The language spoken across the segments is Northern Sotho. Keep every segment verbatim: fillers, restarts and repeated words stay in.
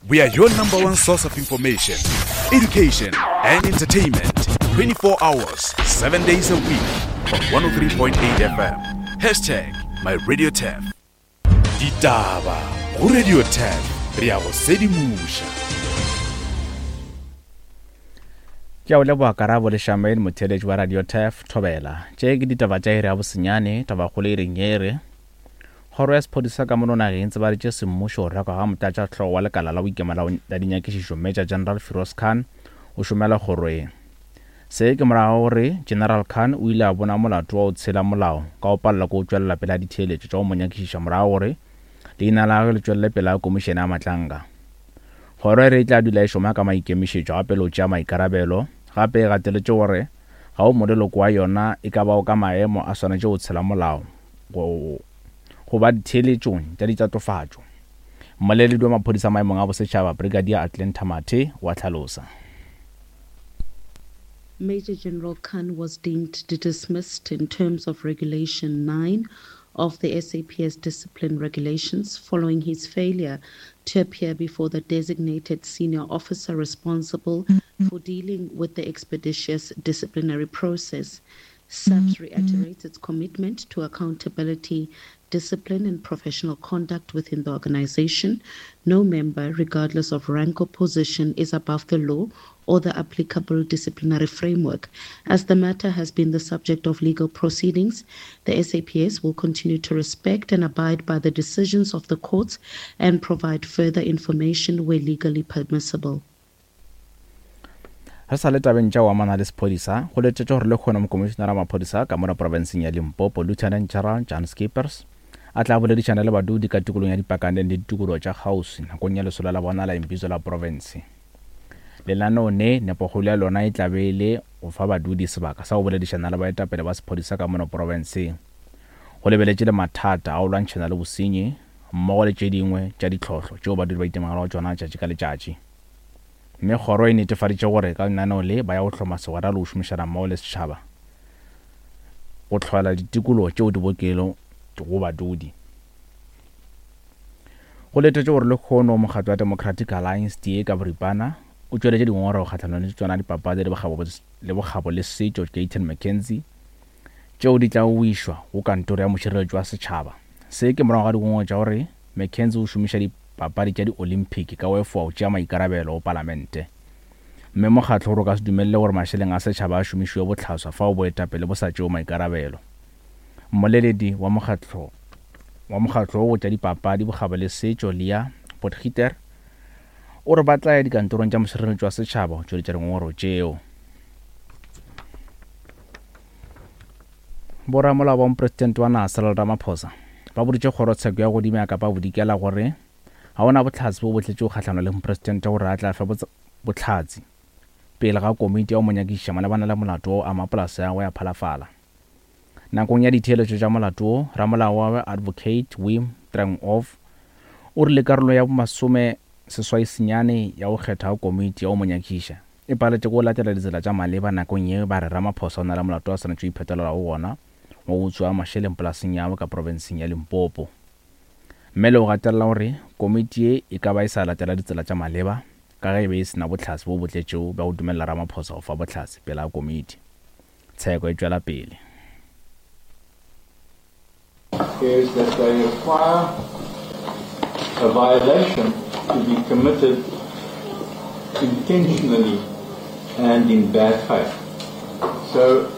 We are your number one source of information, education, and entertainment twenty-four hours, seven days a week on one oh three point eight F M. Hashtag my Radio Turf. Ditaba go Radio Turf, re a go sedimoša. Ke a o leboga Karabo le Shamaine, motheeletši wa Radio Turf Thobela. Tše ke ditaba tša iri ya bosenyane, tabakgolo e reng e re kgoro ya sephodisa ka mono nageng e tsebaditše semmušo go rekwa ga motlatšahlogo wa lekala la boikemela la dinyakišišo Major General Firoz Khan o šomela kgoro e. Se ke morago gore General Khan o ile a bona molato wa go tshela molao ka go palela ke go tšwelela pele a ditheeletšo tša go mo nyakišiša morago gore leina la gagwe le tšwelele pele a komišene ya Matlanka. Kgoro e re e tla dula e šoma ka maikemišetšo gape le go tšea maikarabelo, gape e gateletše gore ga o moleloko wa yona e ka bao ka maemo a swanetše go tshela molao go go ba ditheeletšong tša ditatofatšo. Mmoleledi wa maphodisa maemong a bosetšhaba Brigadier Atlanta Mathe wa hlalosa. Major General Khan was deemed dismissed in terms of Regulation nine of the S A P S Discipline Regulations following his failure to appear before the designated senior officer responsible for dealing with the expeditious disciplinary process. S A P S reiterates its commitment to accountability, discipline and professional conduct within the organization. No member, regardless of rank or position, is above the law or the applicable disciplinary framework. As the matter has been the subject of legal proceedings, the S A P S will continue to respect and abide by the decisions of the courts and provide further information where legally permissible. Re sa le tabeng tša go amana le sephodisa, go letetšwe gore le kgone mokomišenara wa maphodisa ka mona profenseng ya Limpopo, Lieutenant General Jan Scheepers, a tla boledišana le badudi ka tikolong ya Dipakaneng le ditikologo tša kgauswi nakong ya lesolo la bona la imbizo la profense. Lenaneo ne nepokgolo ya lona e tla be e le go fa badudi sebaka sa go boledišana le baetapele ba sephodisa ka mona profenseng, go lebeletše le mathata a go lwantšhana le bosenyi mmogo le tše dingwe tša ditlhohlo tšeo badudi ba itemogelago tšona tšatši ka letšatši. Mme kgoro e netefaditše gore ka lenaneo le ba ya go hloma segwera le go šomišana mmogo le setšhaba go hlola ditikologo tšeo di bokelo go badudi. Go letetšwe gore lekgono mokgatlo wa Democratic Alliance D A ka boripana o tšweletše dingongorego kgahlanong le tšona dipapadi le bokgabo le bokgabo le setšo Gayton McKenzie tšeo di tla go išwa go kantoro ya mošireletši wa setšhaba. Se ke morago ga dingongorego tša gore McKenzie o šomiša dipapadi tša di-Olympic ka go efoga go tšea maikarabelo go palamente. Mme mokgatlo gore o ka se dumelele gore mašeleng a setšhaba a šomišiwe bohlaswa fao boetapele bo sa tšeo maikarabelo. Mmoleledi wa mokgatlo wa mokgatlo wo tša dipapadi bokgabo le setšo Leah Potgieter o re ba tla ya dikantorong tša mošireletši wa setšhaba go tšweletša dingongorego tšeo. Boramolao ba mopresidente wa naga Cyril Ramaphosa ba boditše kgorotsheko ya godimo ya Kapa Bodikela gore ga ona bohlatse bo bo tletšego kgahlanong le mopresidente gore a tla fe bohlatse pele ga komiti ya go mo nyakišiša malebana le molato wo ama polase ya gagwe ya Phalafala. Nakong ya ditheeletšo tša molato wo, ramolao wa Advocate Wim Trengove o rile karolo ya masome seswai senyane ya go kgetha komiti ya go mo nyakišiša e paletše go latela ditsela tša maleba nakong ye ba re Ramaphosa o na le molato wa swanetše go iphetolela go gona wa go utswa mašeleng polaseng ya gagwe ka profenseng ya Limpopo. Mme le go gatelela gore komiti ye e ka ba e sa latela ditsela tša maleba ka ge e be e sena bohlatse bo bo tletšego bja go dumelela Ramaphosa go fa bohlatse pele ga komiti. Tsheko e tšwela pele. Is that they require a violation to be committed intentionally and in bad faith. So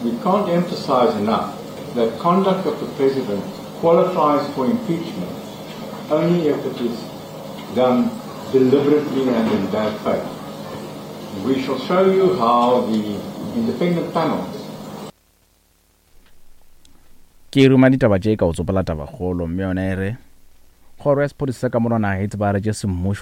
we can't emphasize enough that conduct of the president qualifies for impeachment only if it is done deliberately and in bad faith. We shall show you how the independent panels. Ke ruma ditaba tše ka o tsopola tabakgolo, mme yona e re kgoro ya sephodisa ka mono naga e tsebagaditše semmušo